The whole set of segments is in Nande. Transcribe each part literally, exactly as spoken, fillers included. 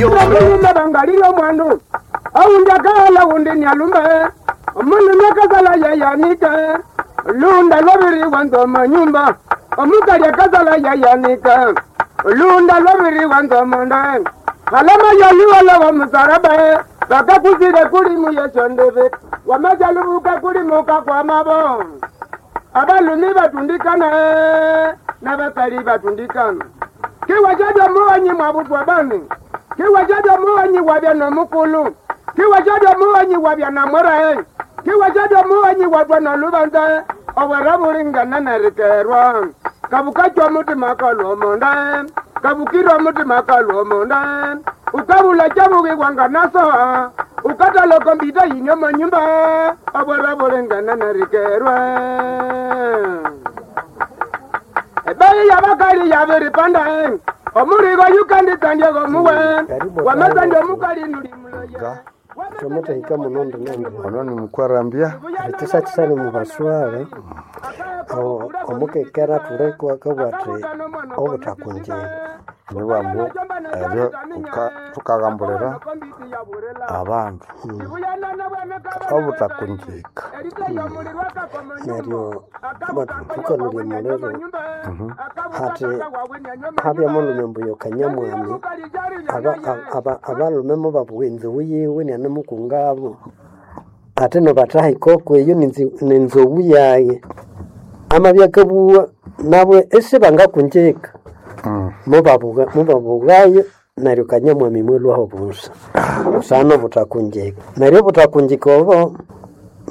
Omulume bangalile omwandu aundi akala undi nyalume omulume akazala yayanika lunda lwabiriwa nzoma nyumba omukali akazala yayanika lunda lwabiriwa nzoma nda alama yaliwala wa musaraba bakakuzile kulimu yeshondebe wamajalubuka kulimuka kwa mabo abalumi batundikana n'abakali batundikana kiwajabya muwanyi mwabutwa bani kiwajabya muwanyi wabya nomukulu kiwajabya muwanyi wabya namwerae kiwajabya muwanyi watwa nolubanza obwera bulingana nerikerwa kabukachwa mutima kalwomonda kabukirwa mutima kalwomonda ukabula chabukiwanga nasoha ukatala kompyuta yinyo manyumba obwera bulingana nerikerwa ebeyi yabakali yabiripanda omuligo yukanditandyago muwe wamasandya omukali nulimuloye Twamutahika muno ndinende Ono ni mukwarambya ekisakisani mubaswale o- omukekera thulekwa akabugha athi obuthakunjika nibambu ebyo tuka- tukagambulira abandu obuthakunjika neryo thukalolya omuliro hathi habya mulume mbuya kanyamwami aba- aba- abalume mubabugha enzowu yiwe nianemukungabo ate nobathaha ikoko eyo ninzi- ninzowu yaye amabya akabugha nabo isibangakunjika mubabugha mubabughayo neryo kanyamwami mwilwaho busa busana obuthakunjika neryo obuthakunjika obo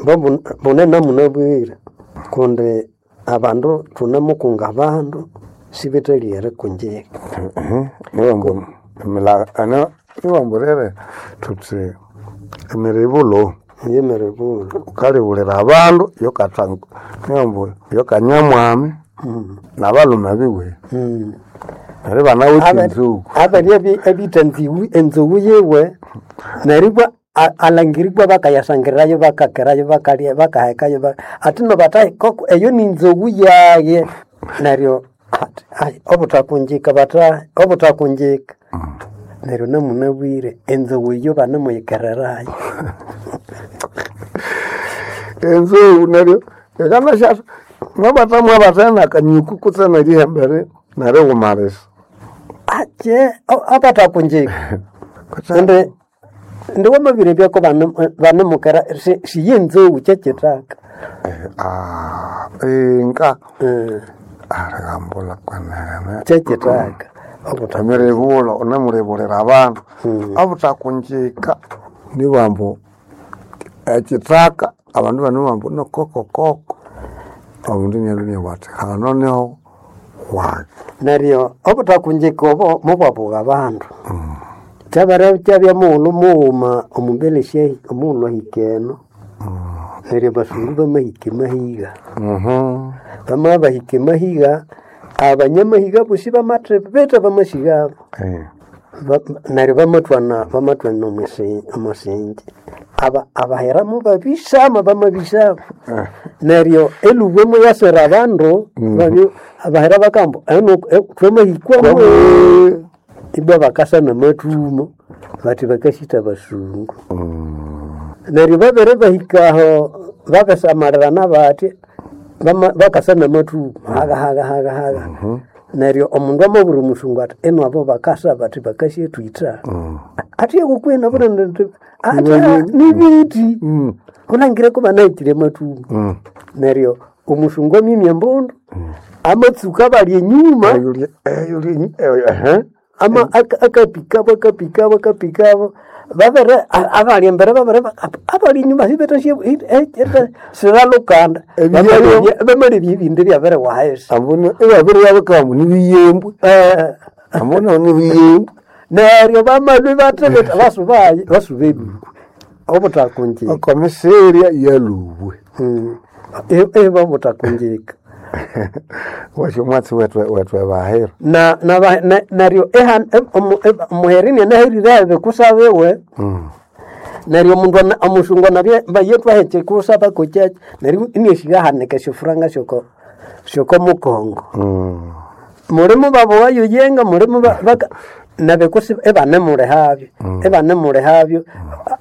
bo bu- bunene munabwire kundi abandu thunemukunga abandu sibithalya erikunjika nibambu emila- ano nibambu rere thuthi emiribulo yemeribulhu ukalibulira abandu yokatha nibambu yokanyamwami nabalume biwe neryo banawithe enzuku abali abitha enziwu- enzowu yiwe neribwa a- alangiribwa bakayasangirayo bakakerayo bakalya bakahekayo ba- ati nobathahi koko eyo ninzowu yaye neryo ati, ai, obuthakunjika bathahi obuthakunjika neryo namunabwire enzowu eyo banemuyikererayo enzowu neryo ekanasha mwabatha mwabatha nakanyuku kutse nerihembere nerighumalisa ache abathakunjika indi ndi wamabire byako banemukera siyenzou kyekithaka Ah, inga Eh, arigambula kwenene kyekithaka obutha emiribulo unemulibulira abandu obuthakunjika nibambu ekithaka abandu bano bambu nokokokoko omundu nialhunia bwati hano niho wayi neryo obuthakunjika obo mubwabugha abandu kyabere kyabya mughulhu mughuma omumbere sya- omughulhu ahika eno neryo abasungu bamahika emahiga bamabya bahika emahiga abanyamahiga bosi bamathibitha bamasighabo Eh, Ba- neryo bamathwana bamathwana omwisi- omusinji Aba- abaheramu babisama bamabisama neryo elubwe muyasira abandu babyo abahera bakamba "Eno, eh, twamahikwamu ibwa bakasa namathumo bathi bakasitha abasungu neryo babere bahikaho babisamalirana bathi bama- bakasa namathumo haga haga haga haga neryo omundu amabwira omusungu athi ino abo bakasa bathi bakasyethwitha athi ekukwina burende ati nibiti ulangire ko banahikire amathumo neryo omusungu amimya embundu amatsuka abali enyuma eyuli- eyuli- eyo- ehe. ama aka- akapikabo akapikabo akapikabo babere a- abali embere babere ba- abali enyuma siralukanda Ebiyembe. bamalebya ebindi byabere wahesi Ambuna ebabiri yabikamu nibiyembwe Eh, ambuna nibiyembwe neryo bamalwe bathebeta basubaye basuba ebibu obuthakunjika okomiseria yalubwe Mm. E- eba obuthakunjika wasyo omwatsi wethu wethu ebahira na na ba- na- neryo ehan- em- omu- em- omuherini anaherire ebikusa biwe neryo omundu ana- omusungu anabya bayethu ahekye kusaba kokyakyi neryo iniashigahanika esyofuranga syoko syoko mukongo mulimu babuwayo yenga mulimu ba- baka nabekusi ebanemulehabyo ebanemulehabyo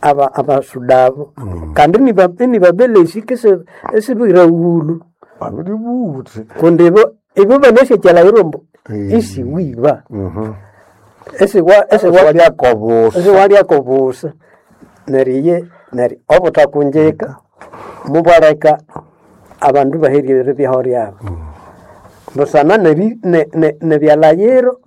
aba abasudabo kandi niba- nibabelesi kese esibiraghulu Babiri buthi. kundi ibo ibo banasyakyala irumbu Eh. isiwiba Mhm. esiwa esiwa Waliakobusa. esiwalyakobusa neryo iye neryo obuthakunjika mubwaleka abandu baherire byaho ryabo busana nebi- ne- ne- nebyalayiro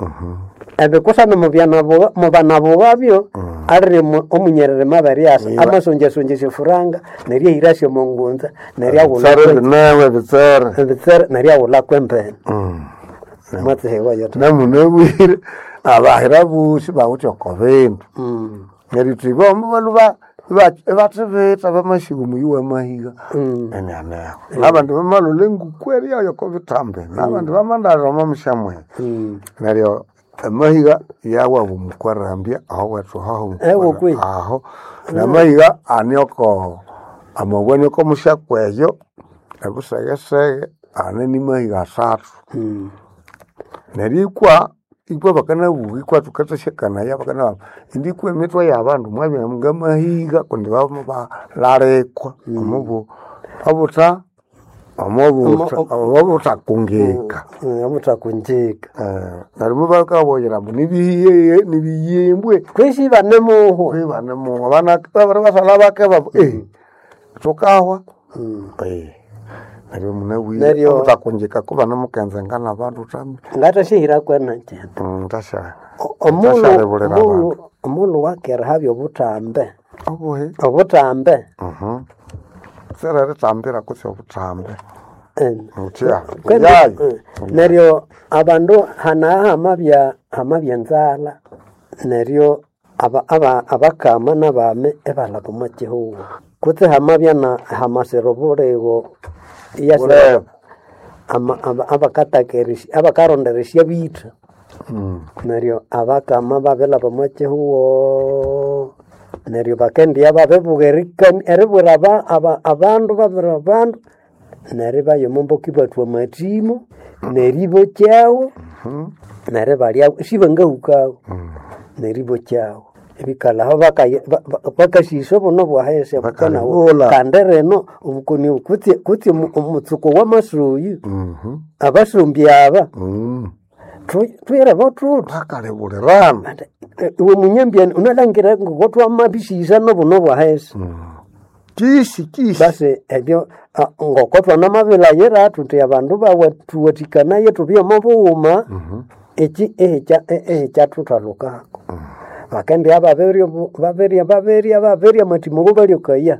ebikusana mubyana- mubanabuwabyo aliri mu- omunyerere maberyasa Iba. amasonjasonja syofuranga neryo ahirasyo omongunza neryo aghula Tsere binewe bitsere. ebitsere neryo aghula kwembene Mm. mwatsihewayo ta Namunabwire abahira busi bawuthi oko bindu. Mm. Neryo thibo baluba bathibitha bamashiga omuyi wamahiga. Mm. Enyaneho. Nabandi bamalhola enguku eryayo oko bithambi. Nabandi bamandalira omo mushamwe. Mm. Neryo amahiga yawabu mukwarambya aho wethu haho Ewo kwe. aho namahiga anioko amabwa nioko mushakweyo ebusegesege ane ni mahiga asathu Mm. neryo ikwa ikwa bakanabuka ikwa thukathasyakanayo bakana indi ikwa emitwe yabandu mwabya ngamahiga kundi babalalekwa omubu obuta omubuta obutakungika Mm, obuthakunjika Eh, neryo mubakaboyera mbu nibihiye nibiyimbwe kwisi banemuhwa kwibanemuwa bana babiri basala bake babu eh tukahwa eh neryo munabwire Neryo- obutakunjika kuba namukenzenga nabandu tami ngathasihira kwenakyene ntasha omulhu Ntashalebulira omulhu omulhu wakera habya obutambe obuhe obutambe mhm sera ritambira kutsi obutambe eh, mutya kwenda- yayi eh, neryo abandu hanaha hamabya hamabya enzalha neryo aba- aba- abakama nabame ebalaba omo kihugho kutse hamabya na hamasira obuligo iyasira Bulebe. ama- aba- abakatakeresya abakaronderesya bitha Mm. neryo abakama babilaba omo kihugho neryo bakendiya babibuga erikani eribwira aba- aba- abandu babwira abandu neryo ibaya omomboka ibathwa amathimo neryo ibokyawo neryo ibalyawo sibangahukawo neryo ibokyawo ibikalhaho bakaya- ba- ba- bakasisa obuno bwahesi obukanawo Bakalibula. kandi rino obukoni obu kutse kutse omu- omutsuko wamasuyu Mhm. abasumbi aba Mm. tu- twirebo thuthi Bakalibulirana. Ati, eh, iwe munyambyani unalangira ngokotwamabisisa nobuno bwahesi Kisi kisi. basi ebyo ah, ngoko twanamabilayira thuthi abandu bawe thuwathikanaye thubye omo bughuma eki ehikya ehikyathuthalukako bakendya babirya obu- babirya babirya babirya amathimo go balyokaya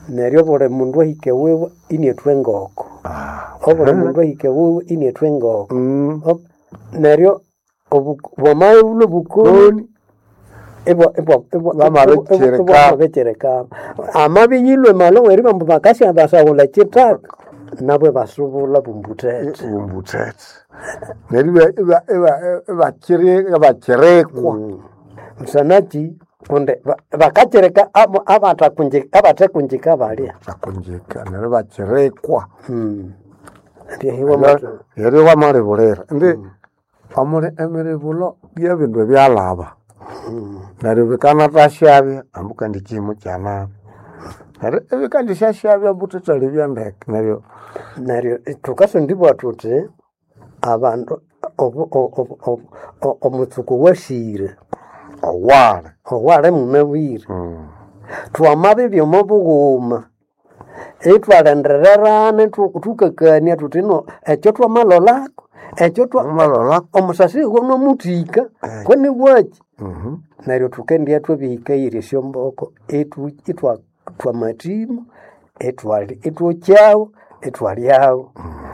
neryo buli mundu ahike wiwe iniathwa engoko Ah. obuli mundu ahike wiwe iniathwa engoko Mm. Ob- neryo obu- bwamaghulha obukoni Bamabikyereka. bwamabikyereka amabiyilwe malo weribambu mbu bakasya basaghulha kyithaka nabo ibasubula bumbuthethe Umbuthethe. Neryo iba- iba- iba- ibakiri- ibakirikwa. musanaki kundi ba- bakakyereka abo- abatakunji- abathekunjika balya Bakunjika neryo bakirikwa. Hmm. Ebyahiwa mathu. Neryo wamalibulira. Indi amuli emiribulo byebindu ebyalaba. Neryo bikanathashyabya ambu kandi kimo kyanabya. Neryo ebikandisyasyabya ambu thuthalibya ndeke. Neryo Neryo thukasondibwa thuthi abandu obu- obu- obu- o- omutsuku wasire owali. owali munabwire Mm. twamabibya omo bughuma ithwalendererana thu- thukakania thuthi no ekyo twamalolako ekyo twa Wamalolako. omusasi gonomuthika kwenibwaki Mhm. neryo thukendya thwabihikairya esyomboko ithu- ithwa thwamathimo ithwali- ithwokyawo ithwalyawo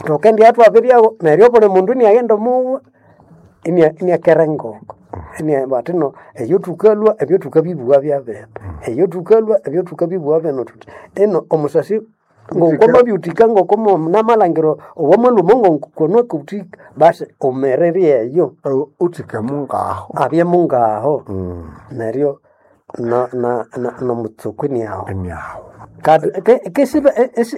thukendya thwabiryawo neryo buli mundu iniaghenda omuwa inia- iniakera engoko Inia- bathi no eyo thukalwa ebyo thukabibugha byabene eyo thukalwa ebyo thukabibugha bino thuthi ino omusasi ngokomabyuthika ngokonamalangiro owamalumo ngokonakuthika basi umererye eyo Oh, Uthike mungaho. abye mungaho Mm. neryo na- na- na- nomutsuku niaho Emyaho.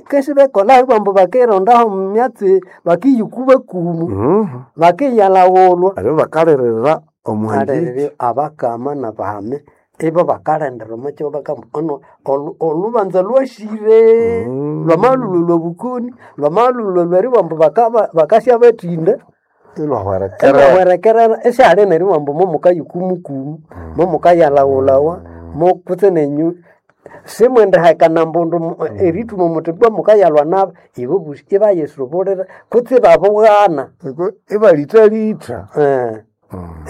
kesibekola bambu bakirondaho mumyatsi bakiyuku bakumu Mhm. bakiyalawulwa Neryo bakalirira Omuhanjiki Alere abakama nabahame ibo bakalendera omukyo bakamba ono olu- olubanza lwashire lwamalulwe lwobukoni lwamalulwe lweribambu bakaba bakasya bathinda ilwahwerekerera elwahwerekerera esyali neribambu momukayikumukumu momukayalawulawa mokutse nenyu simwendihekana mbundu mu- erithuma muthi bwa mukayalwa nabo ibo busi ibayisubulira kutse babughana ibalitalitha eh,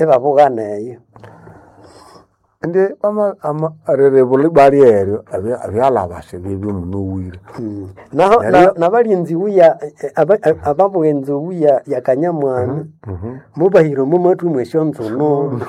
ibabughana eyo ndi ama ama riribuli bali eryo abyalabase bibyo munowire Mm. Naho na- nabalinzi wuya ababuga enzowu ya ya Kanyamwami mubahira omo mathu mwesyo nzunu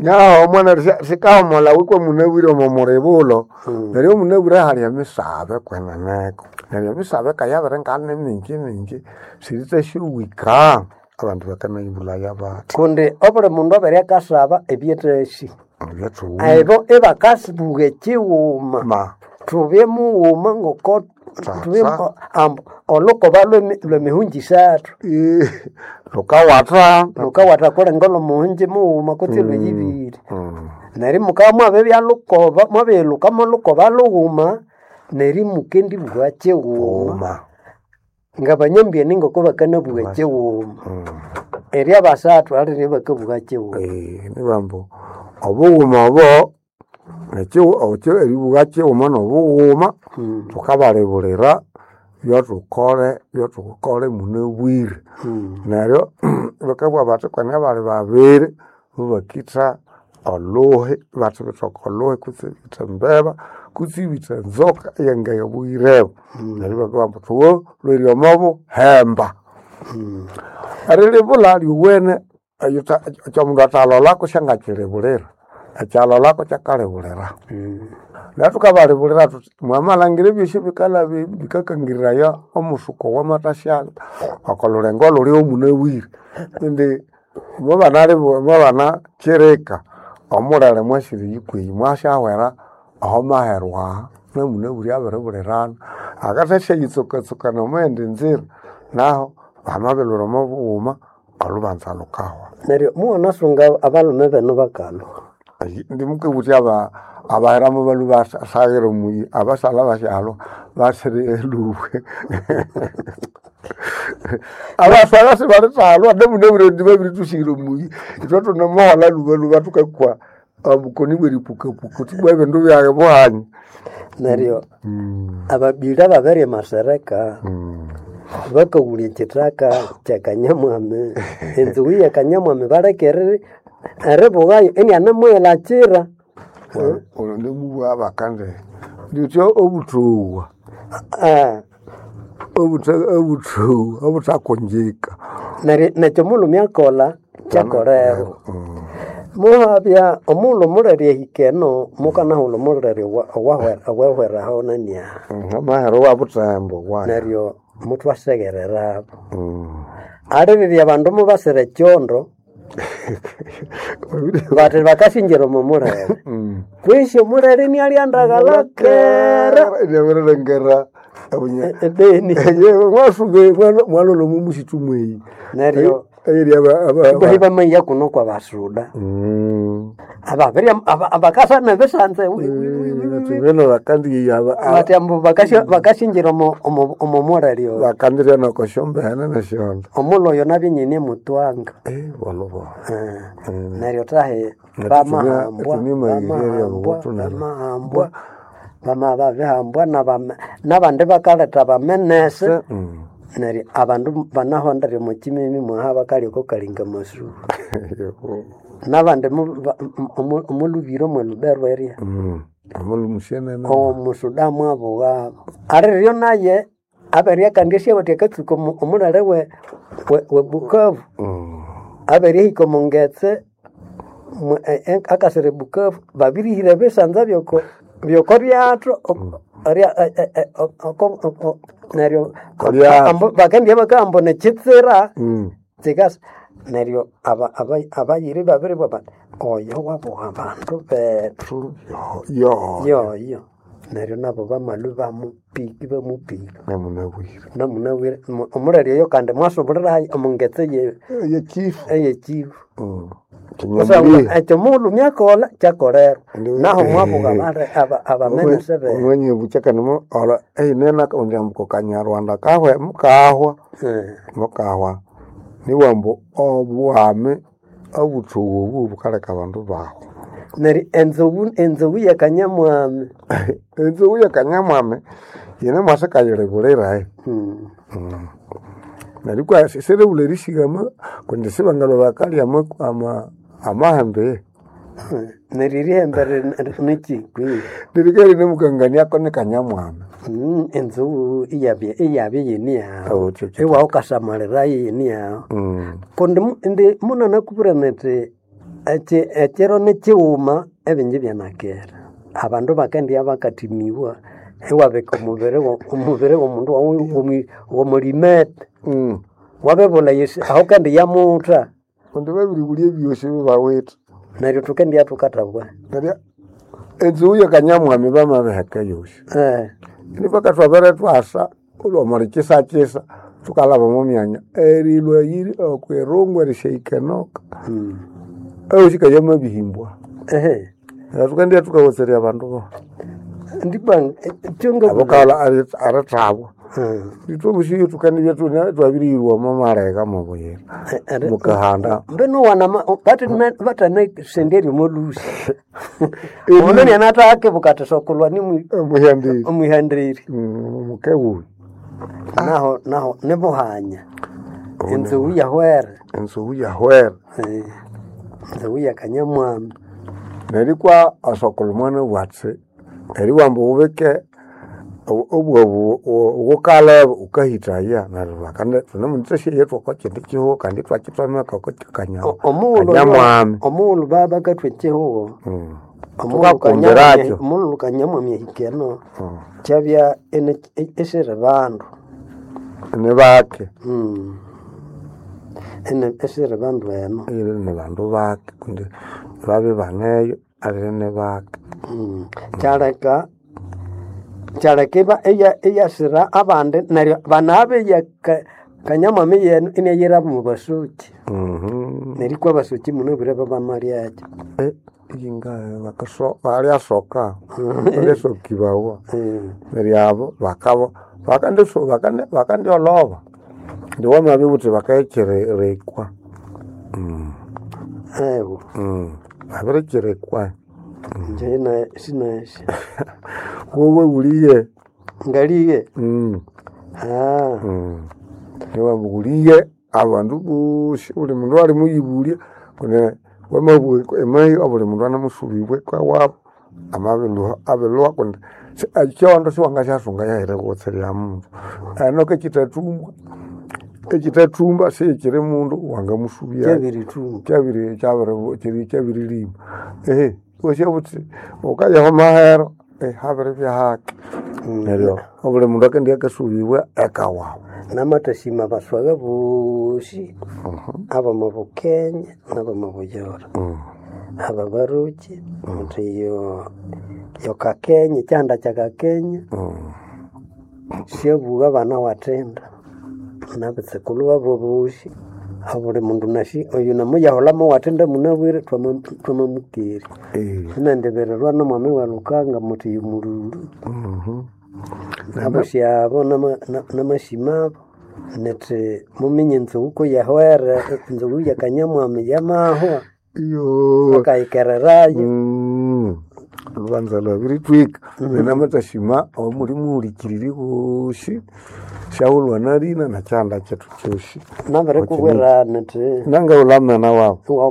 nyaho omwana sikahomola wikwe munabwire omo muribulo neryo omunabwire hali emisabe kweneneko neryo emisabe kayabere ngane mingi mingi sirithasyowika abandu bakanayibulaya bathi kundi obuli mundu abere akasaba ebyethasi ebyathuwa ebo ibakasibuga ekighuma ma thubye mughuma ngoko Tata. thubye mu- ambu olukoba lwemi- lwemihunji isathu Eh, lukawatha lukawatha kulenga olwomuhunji mughuma kutse lweyibiri Mm. neryo mukabya mwabibya lukoba mwabirilukamo lukoba lughuma neryo mukendibugha kighuma uma ngabanyambyeni ngoko bakanabugha kighuma eri abasathu aliryo bakabugha kighuma Eh, nibambu obughuma obo nekyi- okyo eribugha kighuma nobughuma thukabalibulira byothukole byothukole munabwire neryo bakabugha bathi kwene bali babiri mubakitha oluhi bathi bithoka oluhi kutse ibitha embeba kutse ibitha enzoka eyangayabughireho neryo bakabugha ambu thuwo lhweri omo buhemba erilibulha lyowene ekyomundu athalolako syangakyilibulira ekyalolako kyakalibulira neryo thukabalibulira thuthi mwamalhangira ebyosi bikalha bikakangiriraya omusuko wamathasyalu okolhulengo olhuli omunabwire indi mwabanalibulha kyirika omulele mwasire yikweyi mwasyahwera aho maherwa aha namunabwire abiribulirana akathasyayitsukatsukana omwayindi nzira naho bamabilhwira omo bughuma olhubanza lhukahwa neryo muwanasunga abalhume benu bakalhwa Ayi, ndimukabutya aba abahiramu balhu basaghira omuyi abasalha basyalwa basire elubwe abasalha sibalithalwa namunabwire ndi babiritusighira omuyi ithwe thunemuholha luba luba thukakwa obukoni bweripukapuka uthi bwa ebindu byaghe buhanya neryo ababiri ababere emasereka bakawulya ekithaka kya Kanyamwami enzowu ya Kanyamwami baleka eri- eribughayo inianemughilakira olwo ndimubugha bakandi nditya obuthuwa Ah, obutha- obuthuwa obuthakonjeka neryo nekyo omulhume akolha kyakolerwa muhabya omughulhu omulere ehika eno mukanahulha omulere owa- owahwera- owahweraho naniaha amahero wa butembo waya neryo muthwaseghererabo alirire abandu mubasira ekyondo bathi bakasingira omo mulere kwisi omulere nialyandaghala kera inyabirilengera ebeni mwasuke mwalolha omo musitu mweyi neryo eyiri ibahi bamaiya kuno kwa basuda ababiri abakasa nebisanze bino bakandiya bathi ambu bakasya- bakasingira omo- omo omo mulere oyo bakandirya nokosyombene nesyondo omulhu oyo nabye nyine mutwanga bolobo Eh, neryo tahe Netu bamahambwa tunia mayiri eri bamahambwa abawotu nabo. bamahambwa bama babihambwa nabame- nabandi bakaleta bamenese neryo abandu banahondere omukimimi mwaha bakalya kalinga masuru nabandi mu- ba- omu- omulubiro mwelubero eria omulumusienene omusuda mwabughabo aliryo naye aberya kandi esyabathi akatsuka omu- omulere we, we, we Bukavu aberihika omongetse mwe- e- e- akasira ebukavu babirihira ebisanza byoko byoko byathu ok- ria- e- e- e- oko- oko- neryo Kolyato. ambu- bakendya bakahamba nekitsira tsikasa neryo aba- aba- abayiri babiri baba oyo wabuha abandu bethu yo yoyo Neryo nabo bamalwe bamupika bamupika Namunabwire. namunabwire omulere oyo kandi mwasubulira omungetse ye- Yekifu. eyekifu Mm. kusangwa Kinyamulire. ekyo mughulhu myakolha kyakolerwa Ndi- naho mwabuka bale aba- abamene sebe Omwenye buchakana ola einena undi ambuko Kanyarwanda kahwe mukahwa Eh, mukahwa niwambu obuhame obuthuku obu bukaleka abandu bahwa. neryo enzobu enzobu yakanyamwami Enzobu yakanyamwami yine mwasikayilibulira Hmm. neryo kwa siribula erishigama kundi sibangalwa bakalya ama- ama- amahembe Eh, neryo erihembe nikikwi lirikali nimukanganiako ni kanyamwami. enzobu iyabya iyabya yini yawu Oh, kyo- kyo. iwawu kasamalira yini yawu Mm. kundi mu- indi munanakubwira niti eki- ekiro nikighuma ebingi byanakera abandu bakendibya bakathimiwa iwabika omubiri wo- omubiri womundu wawu womu- womulimete Mm. wabibulha yesi aho kandi yamutha Kundi babiribulya ebyosi bibawithe. neryo thukendibya thukathabwa Neryo enzobu yakanyamwami bamabiheka yosi. Eh, Nibaka twabere twasa olwamara kyisa thukalhaba omo myanya erilwa yiri okwirungu erisyaikenoka mm. eyosi yamabihimbwa. Ehe. Neryo thukendibya thukawatherya abandu bo Ndibwa kyonga abo kalha erithabwa. Ithwe obusi thukendibya thune twabiriyirwa omo malega mobuyira mukahanda. mbeno wana batanasenderya omolhusi omundu nianathakebuka athi sokulwa ni Omuhyandiri omwihandiri mukewuyu naho naho nibuhanya enzobu yahwere enzobu yahwera. Eh, enzobu yakanyamwami Neryo ikwa asokulha omwana bwathi eriwamba wubike obwabu ghukaleba wukahithaya neryo bakandi thunemuthasya ithwe oko kyindi kihugho kandi ithwakithomeka oko O- omughulhu kanyamwami. omughulhu baba bakathwa ekihugho Mm. omughulhu Thukakumbirakyo. Kanyamwami- omughulhu kanyamwami ahika eno kyabya ene- esiri bandu Nibake Mm. Ene- esiri bandu eno iri ni bandu bake kundi babya baneyo alire nibake. Mm. Kyaleka kyaleka iba iya- iyasira abandi neryo banabe kanyamwami yenu inayira mu basuki Mhm. neryo ikwa abasuki munabwire babamalyakyo Eh, yinga bakaso balyasoka balyasokibawa Mm. neryo abo bakabo bakandiso bakandi bakandyolhoba indi wamabya wuthi bakayikyirikwa. Ewo Babirikyirikwa. nje na sinasi Wowe wuliye. ngaliye Mm. ah Mm. Niwamba wuliye abandu bosi buli mundu alimuyibulya kundi wamabugha emayi obuli mundu anamusubibwa eka wabu amabilhuha abilhuha kundi si- ekyondo siwangasyasunga yahiri mundu eno kekithathumbwa ekithathumba sikyiri mundu wangamusubya kyabirithumba kyabiri kyabiri kyiri kyabirilima ehe wosya buthi wukayaho mahero eh, habiribya haki neryo obuli mundu akendibya akasubibwa eka wabu. namathasima baswaga bosi abamo Bukenya nabamo Buyora aba baruki muthi yo yo Kakenya kyanda kya Kakenya syabugha abana wathinda nabitsekulhu babo bosi abuli mundu nasi oyu namuyahulamo wathinda munabwire twama- twamamukerya Eh, sinandibirirwa nomwami wa Lukanga muthi yumululu abosi abo nama- na- namasima abo nithi muminye enzobu kuyahwere enzobu yakanyamwami yamahwa iyo bakayikererayo Mm. Lubanza lwabiritwika namathashima omuli muhulikiriri ghosi syahulwa nalina nakyanda kyethu kyosi nabirikubwira nithi nangawulamena wabu wa